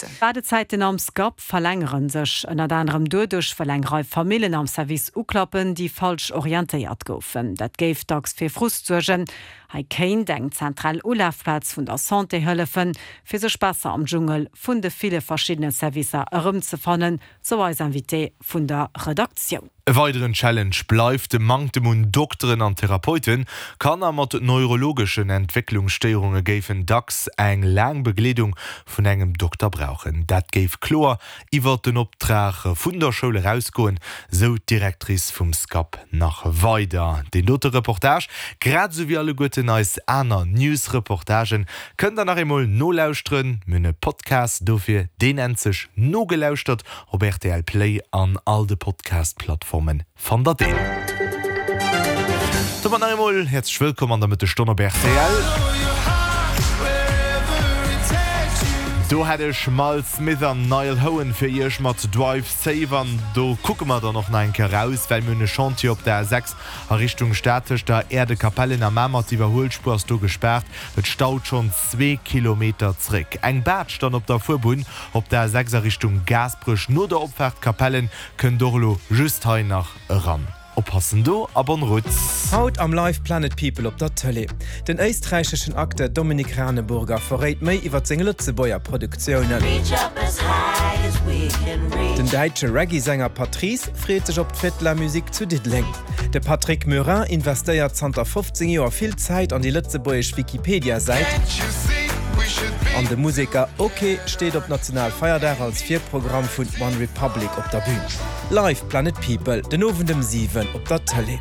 Kontakten. D'Waardezäiten am SCAP verlängere sech ënnert anerem doduerch, well eng Rei Famillen am Service uklappen, déi falsch orientéiert goufen. Dat géif dacks fir Frust suergen. Hei kéint eng zentral Ulafplaz vun der Santé hëllefen, fir sech besser am Dschungel vun de ville verschiddene Servicer erëmzefannen, sou eis Invitée vun der Redaktioun. E weideren Challenge bleift de Manktem un Dokteren an Therapeuten. Kanner mat neurologeschen Entwécklungsstéierunge géifen dacks eng laang Begleedung vun engem Dokter brauchen. Dat géif kloer iwwert den Optrag vun der Schoul erausgoen, sou d'Directrice vum SCAP nach weider. Deen dote Reportage, grad esou wéi alleguerten eis aner News-Reportagen, kënnt der nach eemol nolauschteren. Mir hunn e Podcast dofir, deen nennt sech Nogelauschtert. Op rtl Play an all de Podcast-Plattformen fannt der deen. Domat nach eemol häerzlech wëllkomm an der Mëttesstonn op rtl. Do hätt ech Miles Smith an Niall Horan fir iech mat Drive Safe an do kucke mer dann och nach eng Kéier raus, well mir hunn e Chantier op der A6 a Richtung Stad tëscht der Äerdekapellen a Mamer. D'Iwwerhuelspuer ass do gespaart, et staut schonn zwee Kilometer zréck. Eng Baatsch dann op der Fuerbunn op der A6 a Richtung Gaasperech no der Opfaart Capellen kënnt och elo just hei nach eran. Oppassen do a bonne route! Haut am Live Planet People op der Tëlee. Den éisträicheschen Acteur Dominik Raneburger verréit méi iwwer seng Lëtzebuerger Produktiounen. Den däitsche Reggae-Sänger Patrice freet sech op d'Fête de la Musique zu Diddeleng. De Patrick Murin investéiert zanter 15 Joer vill Zäit an déi lëtzebuergesch Wikipedia-Säit. An de Museker Oké steet op Nationalfeierdag als Virprogramm vun One Republic op der Bün. Live Planet People den Owend ëm 7 op der Tëlee.